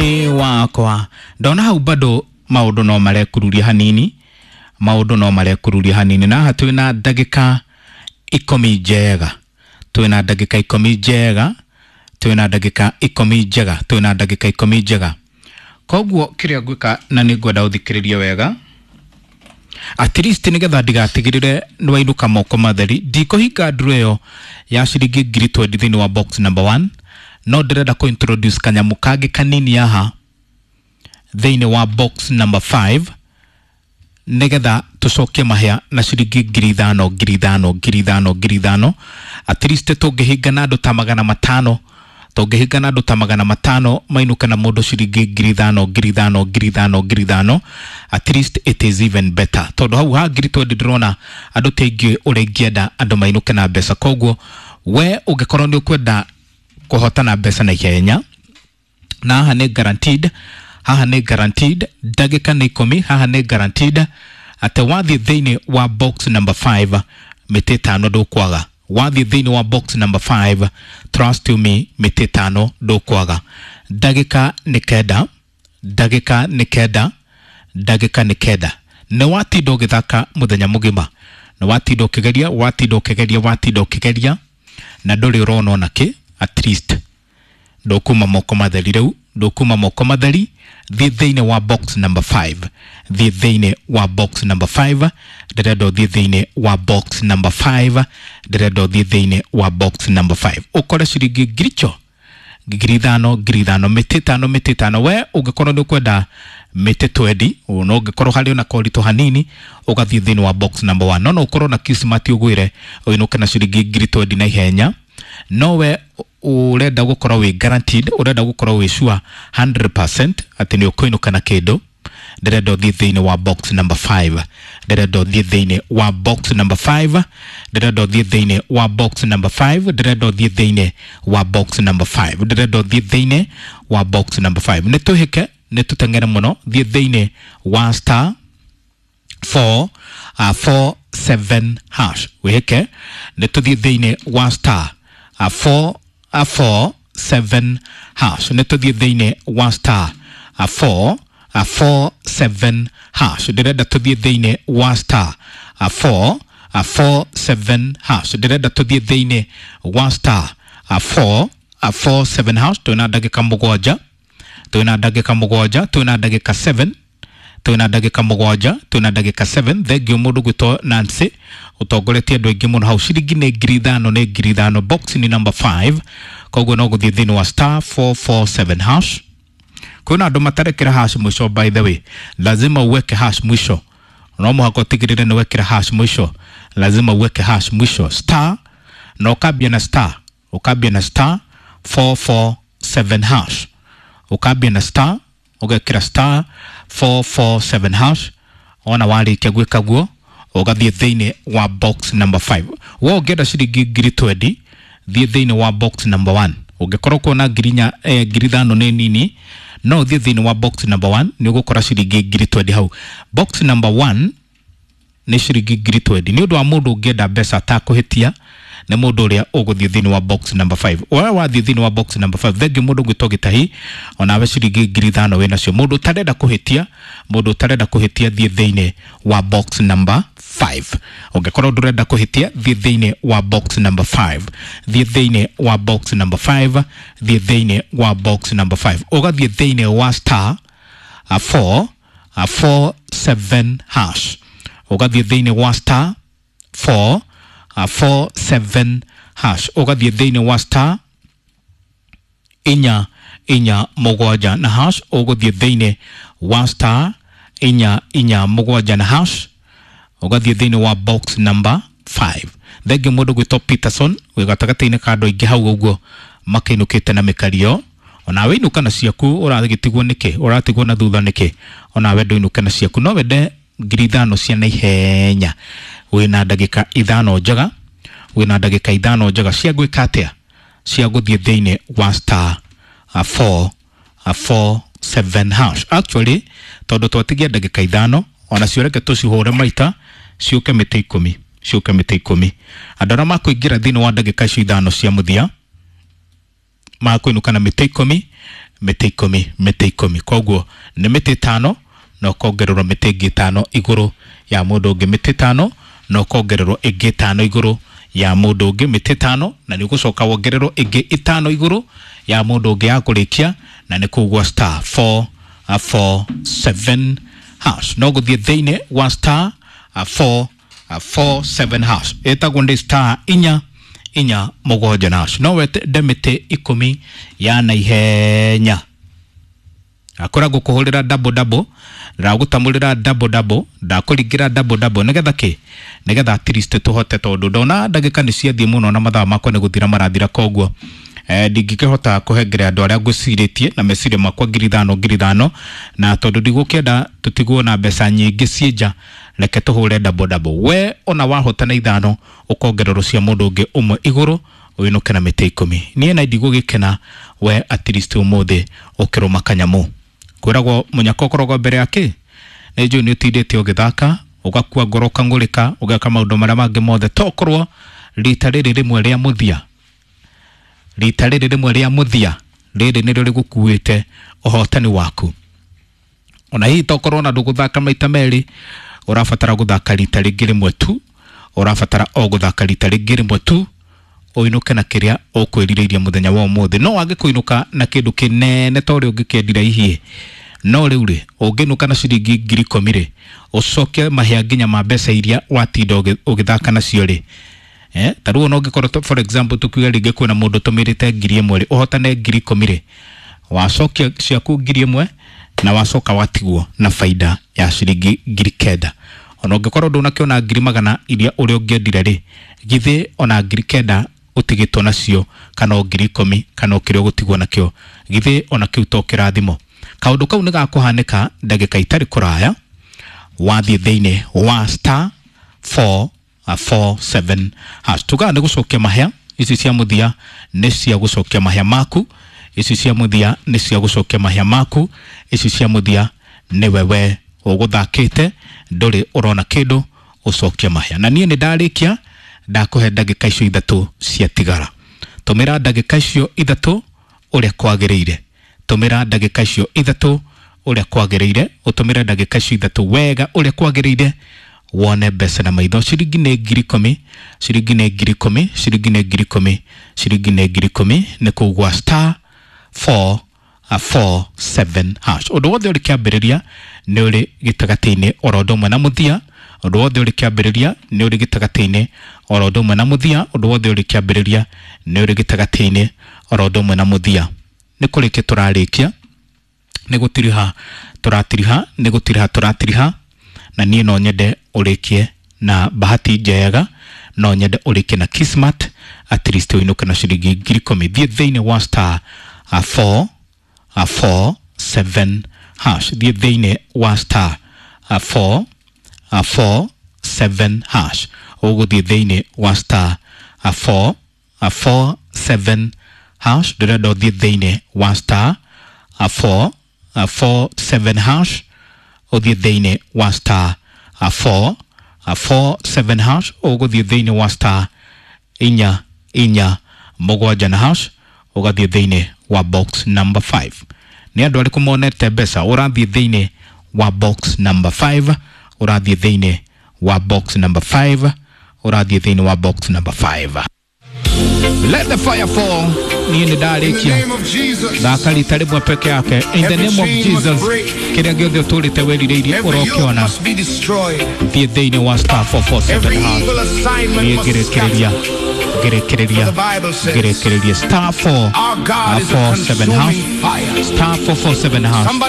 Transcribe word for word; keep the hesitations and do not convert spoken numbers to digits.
Thĩinĩ wakwa. Ndona hau bado maũndũ no marekururia hanini, maũndũ no marekururia hanini, na haha twĩna ndagĩka ikũmi njega, twĩna ndagĩka ikũmi njega, twĩna ndagĩka ikũmi njega, twĩna ndagĩka ikũmi njega. Koguo kĩrĩa ngwĩka, na nĩ ngwenda ũthikĩrĩrie wega, at least nĩgetha ndigatigĩrĩre nĩwainũka moko matheri. Ndikũhinga nduru ĩyo ya ciringi ngiri twenty thĩinĩ wa box number one, no ndĩrenda kũ introduce kanyamũ kangĩ kanini haha thĩinĩ wa box number five, nĩgetha tũcokie mahĩa na ciringi ngiri ithano, ngiri ithano, ngiri ithano, ngiri ithano. At least tũngĩhinga na andũ ta magana matano, tũngĩhinga na andũ ta magana matano mainũke na mũndũ ciringi ngiri ithano, ngiri ithano, ngiri ithano, ngiri ithano, at least it is even better, tondũ hau ha ngiri twenty ndĩrona andũ ti aingĩ ũrĩa ingĩenda andũ mainũke na mbeca. Koguo we ũngĩkorwo nĩ ũkwenda kũhotana mbeca na ihenya, na haha nĩ guaranteed, haha nĩ guaranteed, ndagĩka nĩ ikũmi, haha nĩ guaranteed atĩ wathiĩ thĩinĩ wa box number five mĩtĩ ĩtano ndũkwaga. Wathiĩ thĩinĩ wa box number five, trust you me, mĩtĩ ĩtano ndũkwaga. Ndagĩka nĩ kenda, ndagĩka nĩ kenda, ndagĩka nĩ kenda. Nĩ watinda ũgĩthaka mũthenya mũgima, nĩ watinda ũkĩgeria, watinda ũkĩgeria, watinda ũkĩgeria na ndũrĩ ũrona ona kĩ. At least ndũkuma moko matheri rĩu, ndũkuma moko matheri. Thiĩ thĩinĩ wa box number five, thiĩ thĩinĩ wa box number five. Ndĩrenda ũthiĩ thĩinĩ wa box number five, ndĩrenda ũthiĩ thĩinĩ wa box number five ũkore ciringi ngiri cho, ngiri ithano, ngiri ithano, mĩtĩ ĩtano, mĩtĩ ĩtano. We ũngĩkorwo nĩ ũkwenda mĩtĩ twenty, no ũngĩkorwo harĩ ona koritũ hanini, ũgathiĩ thĩinĩ wa box number one. no no ũkorwo na kismati ũgwĩre ũinũke na ciringi ngiri twenty na ihenya. No we ũrenda gũkorwo wĩ guaranteed, ũrenda gũkorwo wĩ sure hundred percent atĩ nĩ ũkũinũka na kĩndũ, ndĩrenda ũthiĩ thĩinĩ wa box number five, ndĩrenda ũthiĩ thĩinĩ wa box number five, ndĩrenda ũthiĩ thĩinĩ wa box number five, ndĩrenda ũthiĩ thĩinĩ wa box number five, ndĩrenda ũthiĩ thĩinĩ wa box number five. Nĩ tũhĩke, nĩ tũteng'ere mũno. Thiĩ thĩinĩ wa star four uh, four seven hash, wĩhĩke. Nĩ tũthiĩ thĩinĩ wa star uh, four uh, four seven hash, nĩ tũthiĩ thĩinĩ wa star uh, four uh, four seven hash. Ndĩrenda tũthiĩ thĩinĩ wa star uh, four uh, four seven hash, ndĩrenda tũthiĩ thĩinĩ wa star uh, four uh, four seven hash. Twĩna ndagĩka mũgwanja, twĩna ndagĩka mũgwanja, twĩna ndagĩka seven, twĩna ndagĩka mũgwanja, twĩna ndagĩka seven. Thengiũ mũndũ gwĩtwo Nancy, ũtongoretie andũ aingĩ mũno hau. Ciringi nĩ ngiri ithano, nĩ ngiri ithano, box nĩ number five. Koguo no gũthiĩ thĩinĩ wa star four four seven hash. Kwĩna andũ matarekĩra hash mũico. By the way, lazima uweke hash mwisho. No mũhaka ũtigĩrĩre nĩ wekĩra hash mwisho, lazima uweke hash mwisho. Star na ũkambia na star, ũkambia na star four four seven hash, ũkambia na star, ũgekĩra star four four seven hash. Ona warĩkia gwĩka guo, ũgathiĩ thĩinĩ wa box number five. We ũngĩenda ciringi ngiri twenty, thiĩ thĩinĩ wa box number one. Ũngĩkorwo kuona ngiri inya, eh, ngiri ithano nĩ nini, no ũthiĩ thĩinĩ wa box number one, nĩ ũgũkora ciringi ngiri twenty hau. Box number one nĩ ciringi ngiri twenty. Nĩ ũndũ wa mũndũ ũngĩenda mbeca atakũhĩtia nĩ mũndũ ũrĩa ũgũthiĩ thĩinĩ wa box number five. Ũrĩa wathiĩ thĩinĩ wa box number five, thengiũ mũndũ ũgwĩtwo Gĩtahi, onawe ciringi ngiri ithano wĩ nacio. Mũndũ ũtarenda kũhĩtia, mũndũ ũtarenda kũhĩtia, thiĩ thĩinĩ wa box number five. Ũngĩkorwo ndũrenda kũhĩtia, thiĩ thĩinĩ wa box number five, thiĩ thĩinĩ wa box number five, thiĩ thĩinĩ wa box number five. Ũgathiĩ thĩinĩ wa star uh, four uh, four seven hash, ũgathiĩ thĩinĩ wa star four uh, four seven hash, ũgathiĩ thĩinĩ wa star inya inya mũgwanja na hash, ũgũthiĩ thĩinĩ wa star inya inya mũgwanja na hash, ũgathiĩ thĩinĩ wa box number five. Thengiũ mũndũ gwĩtwo Peterson, wĩ gatagatĩ-inĩ ka andũ aingĩ hau ũguo makĩinũkĩte na mĩkario. Onawe inũka na ciaku. Ũragĩtigwo nĩkĩ? Ũratigwo na thutha nĩkĩ? Onawe ndũinũke na ciaku. No wende ngiri ithano cia naihenya, wĩna ndagĩka ithano njega, wĩna ndagĩka ithano njega cia gwĩka atĩa? Cia gũthiĩ thĩinĩ wa star uh, four uh, four seven hash. Actually, tondũ twatigia ndagĩka ithano, onacio reke tũcihũre maita ciũke mĩtĩ ikũmi, ciũke mĩtĩ ikũmi. Andũ arĩa makũingĩra thĩinĩ wa ndagĩka icio ithano cia mũthia makũinũka na mĩtĩ ikũmi. mĩtĩ ikũmi mĩtĩ ikũmi. Koguo nĩ mĩtĩ ĩtano na ũkongererwo mĩtĩ ĩngĩ ĩtano igũrũ ya mũndũ ũngĩ, mĩtĩ ĩtano na ũkongererwo ĩngĩ ĩtano igũrũ ya mũndũ ũngĩ, mĩtĩ ĩtano na nĩ ũgũcoka wongererwo ĩngĩ ĩtano igũrũ ya mũndũ ũngĩ ya kũrĩkia, na nĩ kũu gwa star four four seven hash. No gũthiĩ thĩinĩ wa star four four seven hash, ĩtagwo ndĩ star inya inya mũgwanja na hash. No wende mĩtĩ ikũmi ya naihenya, akoragwo kũhũrĩra double double, ndagũtamũrĩra double double, ndakũringĩra double double nĩgetha kĩ nĩgetha at least tũhote, tondũ ndona ndagĩka nĩ ciathiĩ mũno na mathaa makwa nĩ gũthira marathira, koguo eh, ndingĩkĩhota kũhengere andũ arĩa ngwĩcirĩtie na meciria makwa ngiri ithano ngiri ithano, na tondũ ndigũkĩenda tũtigwo na mbeca nyingĩ ciĩ nja, reke tũhũre double double. We ona wahota na ithano ũkongererwo cia mũndũ ũngĩ ũmwe igũrũ ũinũke na mĩtĩ ikũmi. Niĩ na ndigũgĩkena we at least ũmũthĩ ũkĩrũma kanyamũ. Kwĩragwo mũnyaka ũkoragwo mbere ya kĩ nĩ njũĩ nĩ ũtindĩte ũgĩthaka ũgakua ngoro ũkang'ũrĩka ũgeka maũndũ marĩa mangĩ mothe, tokorwo rita rĩrĩ rĩmwe rĩa mũthia, rita rĩrĩ rĩmwe rĩa mũthia rĩrĩ nĩrĩo rĩgũkuĩte ũhotani waku. Ona hihi tokorwo na ndũgũthaka maita merĩ, ũrabatara gũthaka rita rĩngĩ rĩmwe tu, ũrabatara o gũthaka rita rĩngĩ rĩmwe tu ũinũke na kĩrĩa ũkwĩrirĩirie mũthenya wa ũmũthĩ. No wage kũinũka na kĩndũ kĩnene ta ũrĩa ũngĩkĩendire hihi, no rĩu rĩ ũngĩinũka na ciringi ngiri ikũmi rĩ, ũcoke mahĩa nginya ma mbeca iria watinda ũgĩthaka nacio rĩ, eh, ta rĩu ona ũngĩkorwo for example tukiuga rĩngĩ kwĩna mũndũ ũtũmĩrĩte ngiri ĩmwe rĩ, ũhotane ngiri ikũmi rĩ, wacokia ciaku ngiri ĩmwe na wacoka watigwo na faida ya ciringi ngiri kenda. Ona ũngĩkorwo ndũnakĩona ngiri magana iria ũrĩa ũngĩendire rĩ, githĩ ona ngiri kenda ũtigĩtwo nacio kana o ngiri ikũmi kana o kĩrĩa ũgũtigwo nakĩo, githĩ ona kĩu to kĩrathimo? Kaũndũ kau nĩ gakũhanĩka ndagĩka itarĩ kũraya wathiĩ thĩinĩ wa star four four seven hash. Tugaga nĩ gũcokia mahĩa, ici cia mũthia nĩ cia gũcokia mahĩa maku, ici cia mũthia nĩ cia gũcokia mahĩa maku, ici cia mũthia nĩwe we ũgũthakĩte ndũrĩ ũrona kĩndũ, ũcokie mahĩa. Na niĩ nĩ ndarĩkia, ndakũhe ndagĩka icio ithatũ ciatigara. Tũmĩra ndagĩka icio ithatũ ũrĩa kwagĩrĩire, tũmĩra ndagĩka icio ithatũ ũrĩa kwagĩrĩire, ũtũmĩre ndagĩka icio ithatũ wega ũrĩa kwagĩrĩire, wone mbeca na maitho. Ciringi nĩ ngiri ikũmi, ciringi nĩ ngiri ikũmi, ciringi nĩ ngiri ikũmi, ciringi nĩ ngiri ikũmi, nĩ kũu gwa star four four seven hash. Ũndũ wothe ũrĩ kĩambĩrĩria nĩ ũrĩ gĩtagatĩ-inĩ oro ũndũ ũmwe na mũthia, ũndũ wothe ũrĩ kĩambĩrĩria nĩ ũrĩ gĩtagatĩ-inĩ oro ũndũ ũmwe na mũthia, ũndũ wothe ũrĩ kĩambĩrĩria nĩ ũrĩ gĩtagatĩ-inĩ oro ũndũ ũmwe na mũthia. Nĩ kũrĩkia tũrarĩkia, nĩ gũtiriha tũratiriha, nĩ gũtiriha tũratiriha, na niĩ no nyende ũrĩkie na bahati njega, no nyende ũrĩkie na kismat, at least ũinũke na ciringi ngiri ikũmi. Thiĩ thĩinĩ wa star four four seven hash, thiĩ thĩinĩ wa star four four seven hash, ũgũthiĩ thĩinĩ wa star four four seven hash. Ndĩrenda ũthiĩ thĩinĩ wa star four four seven hash, ũthiĩ thĩinĩ wa star four four seven hash, ũgũthiĩ thĩinĩ wa star inya inya mũgwanja na hash, ũgathiĩ thĩinĩ wa box number five. Nĩ andũ arĩkũ monete mbeca? Ũrathiĩ thĩinĩ wa box number five, ũrathiĩ thĩinĩ wa box number five, ũrathiĩ thĩinĩ wa box number five. Let the fire fall. Niĩ nĩ ndarĩkia, thaka rita rĩmwe peke yake. In the name of Jesus, kĩrĩa gĩothe ũtũrĩte wĩrirĩirie ũrokĩona. Thiĩ thĩinĩ wa star four four seven hash. Niĩ ngĩrĩkĩrĩria, ngĩrĩkĩrĩria, ngĩrĩkĩrĩria star four four seven hash, star four four seven hash.